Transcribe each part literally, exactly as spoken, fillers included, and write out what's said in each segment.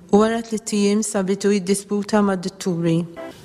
U wara tliet ijiem sabitu jiddisputa mad-dutturi.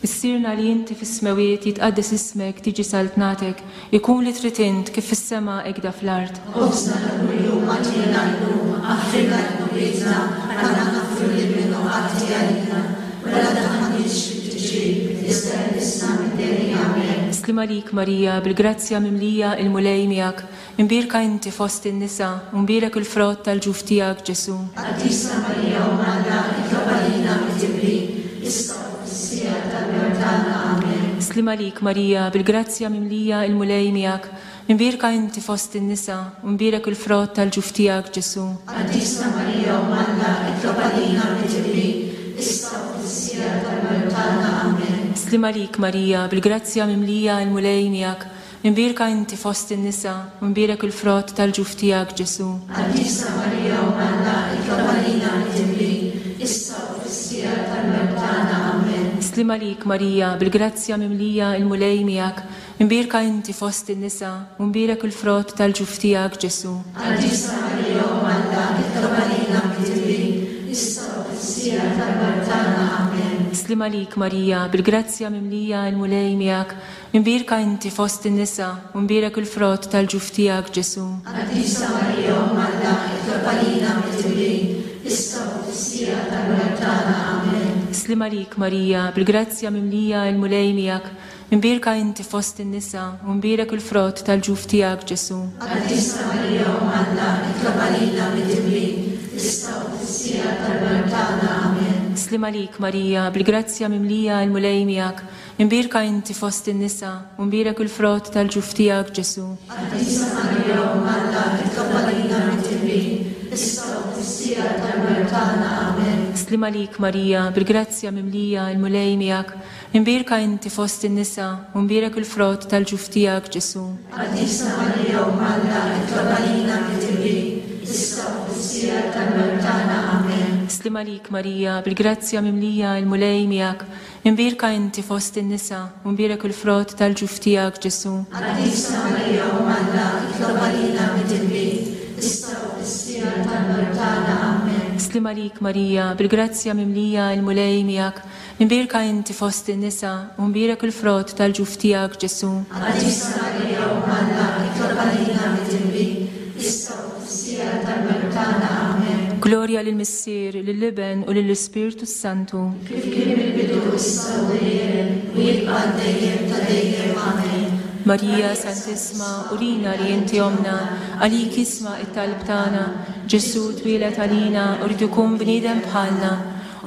Missierna li inti fis-smewwiet jitqaddes ismek tiġi saltnatek, ikun li trid int kif fis-sema hekk fl-art. Ħobżna ta' kuljum agħtina llum, aħfrilna dnubietna, bħalma naħfru lil min hu ħati għalina, u la tdaħħalniex fit-tiġrib, iżda eħlisna mid-deni. Amen. Sliem għalik Marija, bil-grazzja mimlija il-Mulej miegħek, imbierka inti fost in-nisa, u mbierek il-frott tal-ġuf tiegħek Ġesù. Qaddisa Marija Omm Alla, itlob għalina midinbin, issa u fis-siegħa tal-mewt tagħna. Amen. Sliem għalik Marija, bil-grazzja mimlija il-Mulej miegħek, imbierka inti fost in-nisa, u mbierek il-frott tal-ġuf tiegħek Ġesù. Qaddisa Marija Omm Alla, itlob għalina midinbin, issa u fis-siegħa tal-mewt tagħna. Amen. Sliem għalik Marija, bil-grazzja mimlija il-Mulej miegħek, imbierka inti fost in-nisa, u mbierek il-frott tal-ġuf tiegħek Ġesù. Qaddisa Marija Omm Alla, itlob għalina midinbin, issa u fis-siegħa tal-mewt tagħna. Amen. Sliem għalik Marija, bil-grazzja mimlija il-Mulej miegħek, imbierka inti fost in-nisa, u mbierek il-frott tal-ġuf tiegħek Ġesù. Qaddisa Marija Omm Alla, itlob għalina midinbin, issa u fis-siegħa tal-mewt tagħna. Amen. Sliem għalik Marija, bil-grazzja mimlija il-Mulej miegħek, imbierka inti fost in-nisa, u mbierek il-frott tal-ġuf tiegħek Ġesù. Qaddisa Marija Omm Alla, itlob għalina midinbin, issa u fis-siegħa tal-mewt tagħna. Amen. Sliem għalik Marija, bil-grazzja mimlija il-Mulej miegħek, imbierka inti fost in-nisa, u mbierek il-frott tal-ġuf tiegħek Ġesù. Qaddisa Marija Omm Alla, itlob għalina midinbin, issa u fis-siegħa tal-mewt tagħna. Amen. Sliem għalik Marija, bil-grazzja mimlija il-Mulej miegħek, imbierka inti fost in-nisa, u mbierek il-frott tal-ġuf tiegħek Ġesù. Qaddisa Marija Omm Alla, itlob għalina midinbin, issa u fis-siegħa tal-mewt tagħna. Amen. Sliem għalik Marija, bil-grazzja mimlija il-Mulej miegħek, imbierka inti fost in-nisa, u mbierek il-frott tal-ġuf tiegħek Ġesù. Qaddisa Marija Omm Alla, itlob għalina midinbin, issa u fis-siegħa tal-mewt tagħna. Amen. Sliem għalik Marija, bil-grazzja mimlija il-Mulej miegħek, imbierka inti fost in-nisa, u mbierek il-frott tal-ġuf tiegħek Ġesù. Qaddisa Marija Omm Alla, itlob għalina midinbin, issa u fis-siegħa tal-mewt tagħna. Amen. Sliem għalik Marija, bil-grazzja mimlija il-Mulej miegħek, imbierka inti fost in-nisa, u mbierek il-frott tal-ġuf tiegħek Ġesù. Qaddisa Marija Omm Alla, itlob għalina midinbin, issa u fis-siegħa tal-mewt tagħna. Amen. Glorja lill-Missier, lill-Iben u lill-Ispirtu Santu. Kif kien mill-bidu issa u dejjem, u jibqa' dejjem ta' dejjem. Amen. Marija Santissima, urina li inti omna, għalik isma' it-talb tagħna, Ġesù twieled għalina u rrid ikun bniedem bħalna.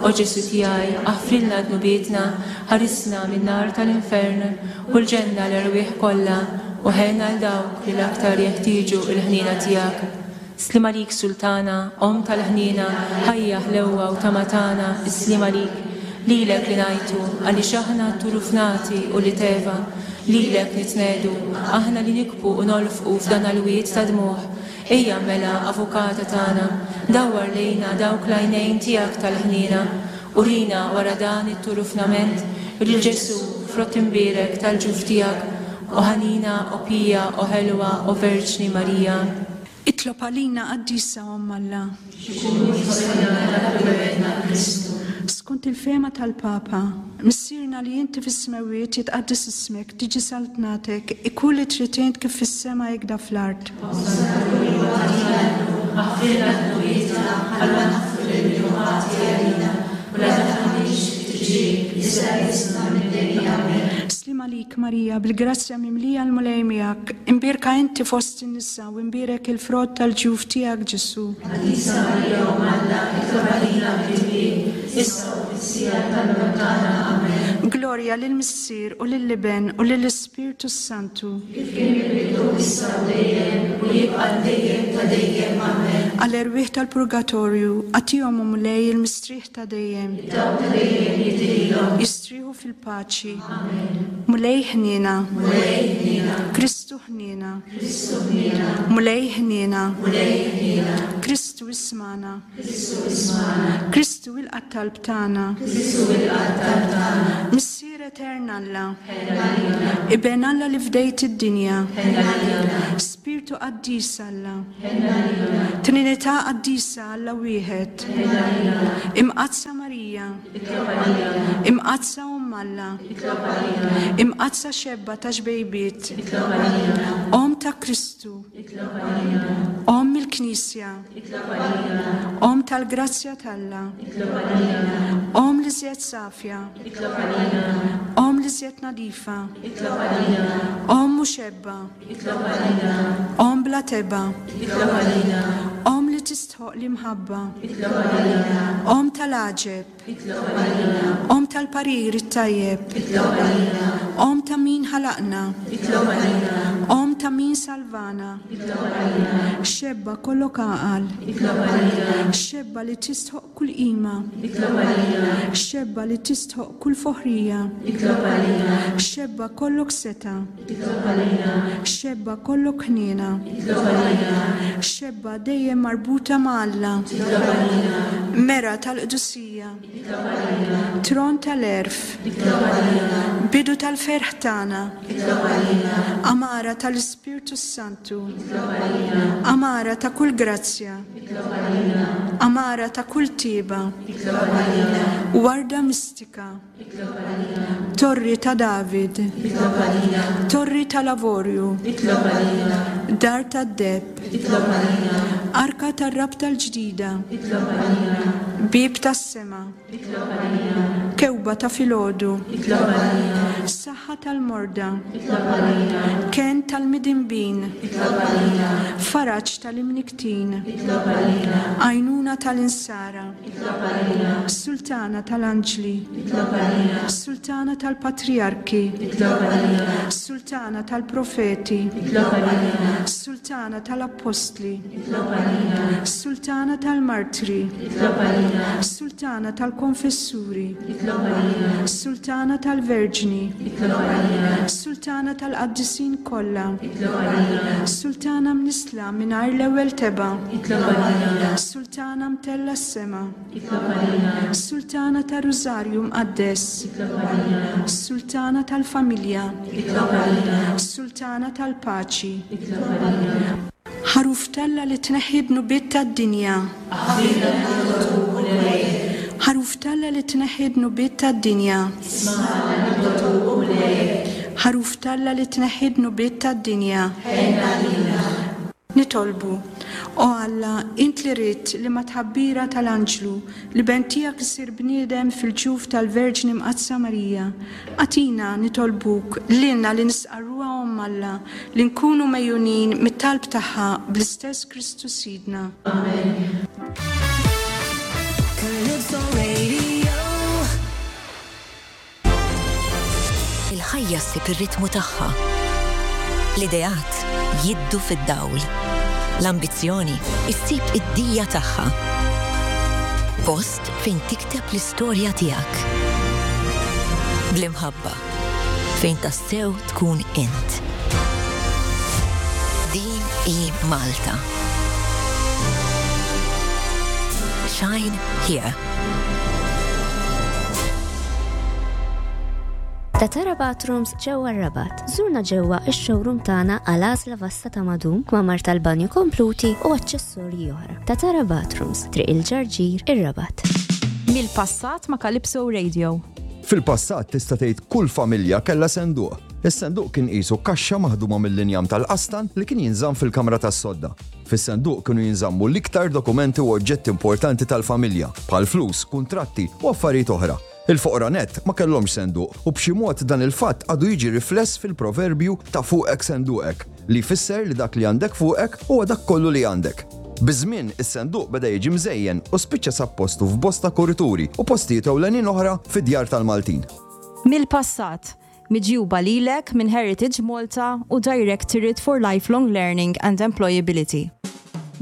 O Ġesù tiegħi, aħfrilna dnubietna, ħarisna min-nar tal-infern u l-ġenna l-erwieħ kollha u ħenn għal dawk li l-aktar jeħtieġu l-ħniena tiegħek. Sliem għalik Sultana, Omm tal-ħniena, ħajja ħlewwa u tama tagħna, is-sliem għalik. Lilek li ngħajtu, għaliex aħna turufnati u li teva, lilek nitnedu, aħna li nikbu u nolfqu f'dan il-wied ta' dmugħ. Ejja mela, avukata tagħna, dawwar lejna dawk l-għajnejn tiegħek tal-ħniena, urina wara dan it-turufnament lil Ġesù frott imbierek tal-ġuf tiegħek, o ħanina, o pija, o ħelwa, o Verġni Marija. Itlob għalina Qaddisa Omm Alla. Skont il-fehma tal-Papa, Missierna li inti fis-smewwiet jitqaddes ismek, tiġi saltnatek, ikun li trid int kif fis-sema hekk fl-art. Aħfrilna dnubietna, bħalma naħfru lil min hu ħati għalina, u la tdaħħalniex fit-tiġrib, iżda eħlisna mid-deni. Amen. Sliem għalik Marija, bil-grazzja mimlija l-Mulej miegħek, imbierka inti fost in-nisa u imbierek il-frott tal-ġuf tiegħek Ġesù. Qaddisa Marija Omm Alla, itlob għalina midinbin, issa u fis-siegħa tal-mewt tagħna. Amen. Glorja lill-Missier u lill-Iben u lill-Ispirtu Santu. Kif kien mill-bidu issa u dejjem, u jibqa' dejjem ta' dejjem. Amen. Għall-erwieħ tal-purgatorju, agħtihom o Mulej il-mistrieħ ta' dejjem. Dawl ta' dejjem jidhrilhom. Jistrieħu fil-paċi. Mulej ħniena. Mulej ħniena. Kristu ħniena. Kristu ħniena. Mulej ħniena. Mulej ħniena. Kristu ismagħna. Kristu ismagħna. Kristu ilqa' t-talb tagħna. Kristu ilqa' t-talb tagħna. Missier Etern Alla, Iben Alla li fdejt id-dinja, Spirtu Qaddis Alla, Trinità Qaddisa Alla wieħed, Imqaddsa Marija, Imqaddsa Omm Alla, Imqaddsa Xebba ta' xbejbiet, Omm ta' Kristu, Omm il-Knisja, Omm tal-Grazzja t'Alla, Omm l-iżjed safja, Omm l-iżjed nadifa, Omm u xebba, Omm bla tebgħa, Omm li tistħoqq l-imħabba, Omm tal-għaġeb, Omm tal-parir it-tajjeb, Omm ta' min ħalaqna, Omm ta' min salvana, Xebba kollok għaqal, Xebba li tistħoqq kull qima, Xebba li tistħoqq kull foħrija, Xebba kollok setgħa, Xebba kollok ħniena, Xebba dejjem marbuta ma' Alla, Mera tal-qdusija, Tron tal-għerf, Bidu tal-ferħ tagħna, Għamara tal-Ispirtu Santu, Għamara ta' kull grazzja, Għamara ta' kull tiba, Warda mistika, Torri ta' David, Torri tal-Avorju, Dar tad-deheb, Arka tar-rabta l-ġdida, Bieb tas-sema, Kewba ta' filgħodu, Saħħa tal-morda, Kenn tal-midinbin, Faraġ tal-imnikktin, Għajnuna tal-insara, Sultana tal-anġli, Sultana tal-patriarki, Sultana tal-profeti, Sultana tal-appostli, Sultana tal-martri, Sultana tal-konfessuri, Sultana tal-Verġni, Sultana tal-Qaddisin kollha, Sultana mnissla mingħajr l-ewwel tebgħa, Sultana mtellgħa s-sema, Sultana tar-Rużarju Mqaddes, Sultana tal-Familja, Sultana tal-Paċi. Ħaruf t'Alla li tneħħi dnubiet tad-dinja. Ħaruf t'Alla li tneħħi dnubiet tad-dinja. Ħaruf t'Alla li tneħħi dnubiet tad-dinja. Nitolbu, o Alla, int li ridt li mat-tħabbira tal-anġlu l-Iben tiegħek isir bniedem fil-ġuf tal-Verġni Mqaddsa Marija. Agħtina nitolbuk lilna li nistqarruha Omm Alla li nkunu megħjunin mit-talb tagħha bl-istess Kristu Sidna. Amen. Calypso Radio. Il-ħajja ssib ir-ritmu tagħha. L-ideat jiddu fid-dawl. L-ambizzjoni issib id-dija tagħha. Post fejn tikteb l-istorja tiegħek. Bl-imħabba fejn tassew tkun int. Din hi Malta. Shine here. Tatara Bathrooms ġewwa r-Rabat. Żurna ġewwa ix-showroom tagħna għal għażla vasta ta' madum, kmamar tal-banju kompluti u aċċessorji oħra. Tatara Bathrooms, Triq il-Ġarġir, ir-Rabat. Mill-passat ma' Calypso Radio. Fil-passat tista' tgħid kull familja kellha senduq. Is-senduq kien qisu kaxxa maħduma mill-injam tal-qastan li kien jinżamm fil-kamra tas-sodda. Fis-senduq kienu jinżammu l-iktar dokumenti u oġġetti importanti tal-familja, bħal flus, kuntratti u affarijiet oħra. Il-foqra net ma kellhomx senduq u b'xi mod dan il-fatt għadu jiġi rifless fil-proverbju ta' fuqek senduqek, li jfisser li dak li għandek fuqek huwa dak kollu li għandek. Biż-żmien is-senduq beda jiġi mżejjen u spiċċa sab postu f'bosta kurituri u postijiet ewlenin oħra fid-djar tal-Maltin. Mill-passat, miġjuba lilek minn Heritage Malta u Directorate for Lifelong Learning and Employability.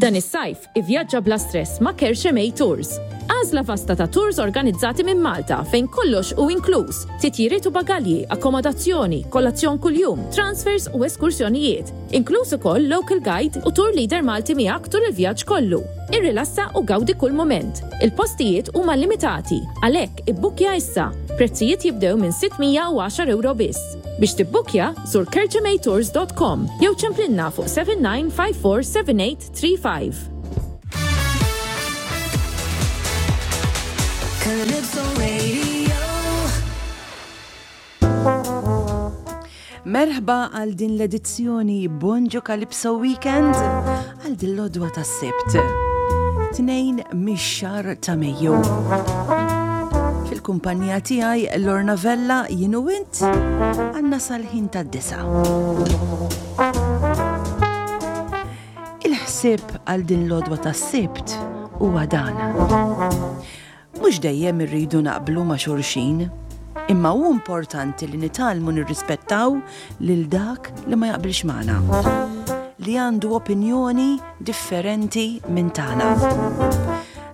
Dan is-sajf ivvjaġġa bla stress ma' Kerxemej Tours. Għażla vasta ta' tours organizzati minn Malta fejn kollox hu inkluż, titjiriet u bagalji, akkomodazzjoni, kolazzjon kuljum, transfers u eskursjonijiet. Inkluż ukoll local guide u tour leader Malti miegħek tul il-vjaġġ kollu. Irrilassa u gawdi kull moment. Il-postijiet huma limitati, għalhekk ibbukja issa. Prezzijiet jibdew minn sitt mija u għaxar euro biss. Biex tibbukja, żur kerċematours punt com jew ċemplinna fuq seba' tnejn ħamsa erba' seba' tlieta ħamsa. Calypso Radio. Merħba għal din l-edizzjoni Bonġu Calypso Weekend għal din l-għodwa tas-Sibt. Tnejn mix-xahar ta' Mejju. Fil-kumpanija tiegħi Lorna Vella, jien u int għandna sal-ħin tad-disgħa. Il-ħsieb għal din l-għodwa tas-Sibt huwa dan. Mhux dejjem irridu naqblu ma' xulxin, imma hu importanti li nitgħallmu nirrispettaw lil dak li ma jaqbilx magħna, li għandu opinjoni differenti minn tagħna.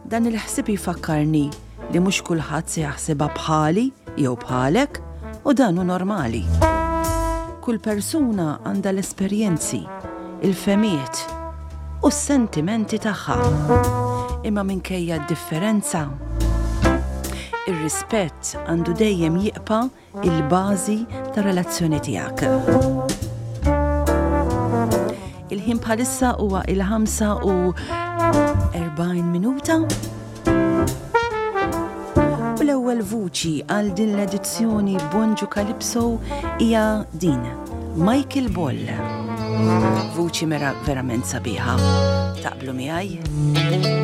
Dan il-ħsieb jfakkarni li mhux kulħadd se jaħsibha bħali jew bħalek, u dan hu normali. Kull persuna għandha l-esperjenzi, il-fehmiet u s-sentimenti tagħha. Imma minkejja d-differenza, ir-rispett għandu dejjem jibqa' il-bażi ta' relazzjoni tiegħek. Il-ħin bħalissa huwa il-ħamsa u erbgħin minuta. U l-ewwel vuċi għal din l-edizzjoni Bonġu Calypso hija din, Michael Boll. Vuċi mera verament sabiħa. Taqblu miegħi?